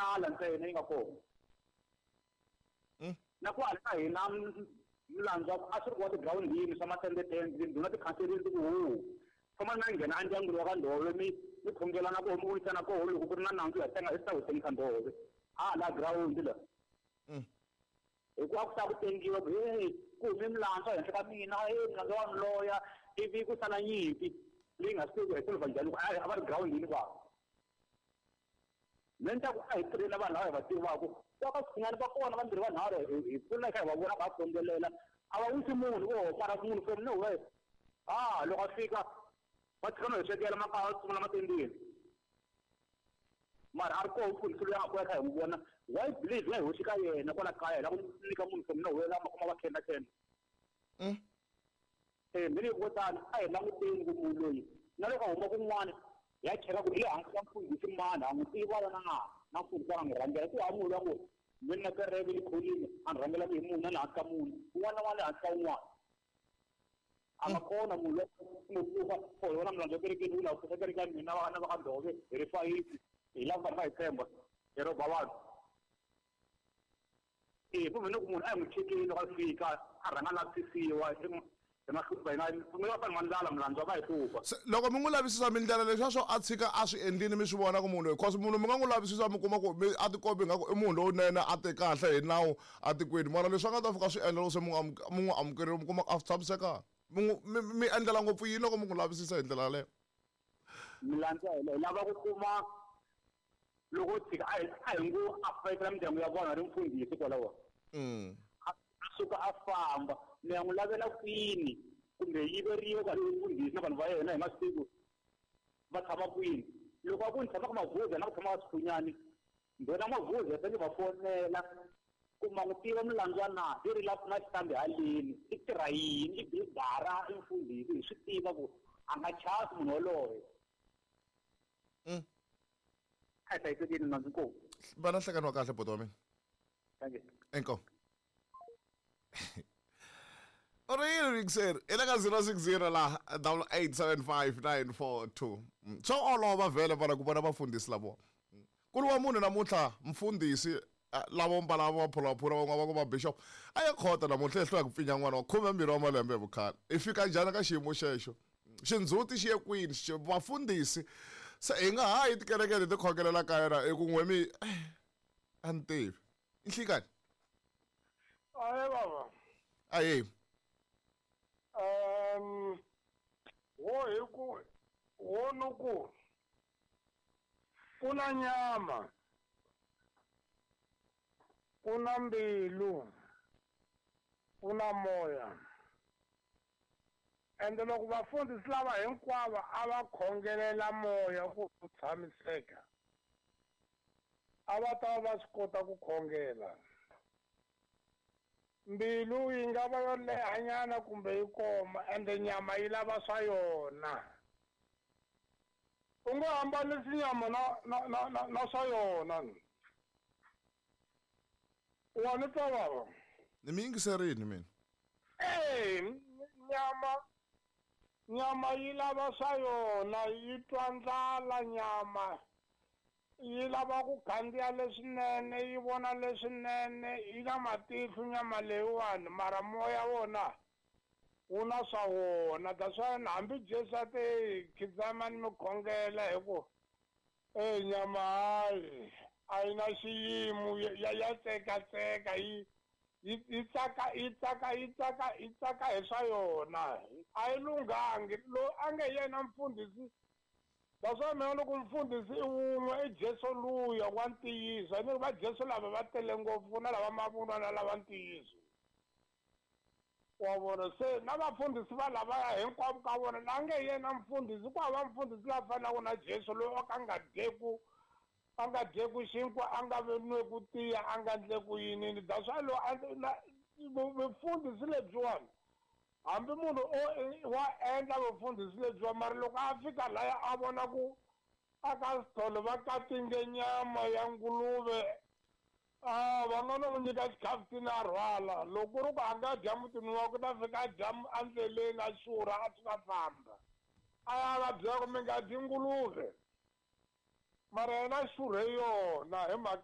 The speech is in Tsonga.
Ndlala ntsena yi nga kona. Na ku hala ka hina milandzu a swi ri wa tigirawundini swa matendetende tindhuna tikhanserini ti ku hu famba na nghena endyangwini wa ka Ndhove mi mi khongelana koho mi vuyisana koho loko ku ri na nandzu ya tenga hi ta wu tengisa Ndhove hala girawundi la. Hikuva a ku ta ku tengiwa ku hey ku hume milandzu ehenhla ka mina, hey milandzu wa loya, ivi ku sala nyimpi leyi nga swi tivi ku hi solva njhani a va ri girawundini kwavo. Mina ni ta ku a hi tirheni na vanhu lava hi va tivaka va ka Swikhingani va kona vambirhi vanharhu hi kula hi kha hi va vona va khongelela a va wisi munhu vo mara munhu from nowhere a loko a fika va tshika no hi swekela makaya va tsutsumela matendeni mara a ri koho mfundhisi loyi a nga kula kha hi n'wi vona why believe nga hi hoxi ka yena kwala kaya hi lava ku nyika munhu from nowhere lama kuma va khenda khenda. Mina hi vo tani a hi languteni ku munhu loyi na loko a huma kun'wana ya cheka ku hi le hansi ka mfundhisi mani ha n'wi tiva na na mfundhisi a nga n'wi rhangela ku hava munhu loyi a ngo mina na kereke yi kholini a ni rhangelaka hi munhu na le hansi ka munhu un'wana na un'wana le hansi ka un'wana a nga kona munhu loyi ngo pfuka for yona milandzu ya kerekeni wu lava ku pfuka kereke ya mina vana va ka Ndhove hi ri fayisi hi lava vanhu va hi tshemba hi rhoba vanhu. Ku mina ku munhu a hi n'wi chekeni loko a fika a rhanga a lavisisiwa hi ma hlupha hina mi va fanele ndlala milandzu va hi hlupha. Se loko mi n'wi lavisisa mindlela leswiya swo a tshika a swi endlini mi swi vona ku munhu loyi cause munhu mi nga n'wi lavisisa mi kuma ku mi a tikombi ingaku i munhu lowunene a te kahle hi nawu atikweni mara leswi a nga ta fika swi endla loko se mi n'wi mi n'wi amukerile mi kuma ku a swi tshamisekanga mi n'wi mi mi endlela ngopfu yini loko mi n'wi lavisisa hi ndlela yaleyo. Milandzu ya hina hi lava ku kuma loko tshika a hi a hi ngo a fayetela mindyangu ya vona ri mfundhisi kwalaho. A suka a famba mi ya n'wi lavela kwini kumbe yiveriwa ka mfundhisi na vanhu va yena hi masiku va tshama kwini loko a ku ni tshama ka Mavuza na ku tshama ka Sikhunyani ndhuna Mavuza se ni va fonela ku ma n'wi tiva milandzu na i ri la na xitambi haleni i tirha yini i bigara i mfundhisi hi swi tiva ku a nga chavi munhu woloye. A hi hlayisekeni nandzu inkomu. Va na nhlekani wa kahle buti wa mina. Thank you. Inkomu. U ri yini mixer i le ka 060 la 8875942. Swa olova vhele vana ku vona vafundhisi lavo. Ku ri wa munhu namuntlha mfundhisi lavo mbala maphulaphula van'wana va ku va bishop a ya khota namuntlha ehlwa ku pfinya n'wana wa 12 wa malembe hi vukhale. I fika njhani ka xiyimo xexo? Xindzhuti xi ye kwini? Vafundhisi se hi nga ha yi tikereke leti khongelela ka yona hi ku n'we mi a ni tivi. I nhlikani? Ahe baba. Ahe. Wo hi ku wo ni ku ku na nyama ku na mbilu ku na moya. Ende loko vafundhisi lava hinkwavo a va khongelela moya ku wu tshamiseka, a va ta va va swi kota ku khongela. Mbilu yi nga va yo lehanyana kumbe yi koma, ende nyama yi lava swa yona. U nga hambanisi nyama na na na na, na swa yona. Wa ni twa baba? Ni mi yingiserini mina. Nyama nyama yi lava swa yona, yi twa ndlala nyama. Yi lava ku khandziya leswinene, yi vona leswinene, yi na matihlo nyama leyiwani, mara moya wona wu na swa wona. That's why hambi Jesu a te khizamani mi khongela hi ku nyama hayi a yi na xiyimo ya ya tsekatseka yi yi yi tsaka yi tsaka yi tsaka yi tsaka hi swa yona a yi lunghangi loyi a nge yena mfundhisi. That's why mina loko mfundhisi i wun'we i Jesu luya wa ntiyiso ni va Jesu lava va tele ngopfu na lava mavunwa na lava ntiyiso wa vona se na vafundhisi va lavaya hinkwavo ka vona la nge yena mfundhisi ku hava mfundhisi la fanaka na Jesu loyi a ka nga dyeku a nga dyeku xinkwa a nga nweku tiya a nga ndleku yinini. That's why loyi vufundhisi lebyiwani hambi munhu o wa endla vufundhisi lebyiwa mara loko a fika laya a vona ku a ka sithole va katinge nyama ya nguluve a va nga no n'wi nyika xikhafuthini a rhwala loko ku ri ku a nga dya mutini wakwe u ta fika a dya endleleni a xurha a suka famba a ya va byela ku mi nga dyi nguluve mara yena a xurhe yona hi mhaka.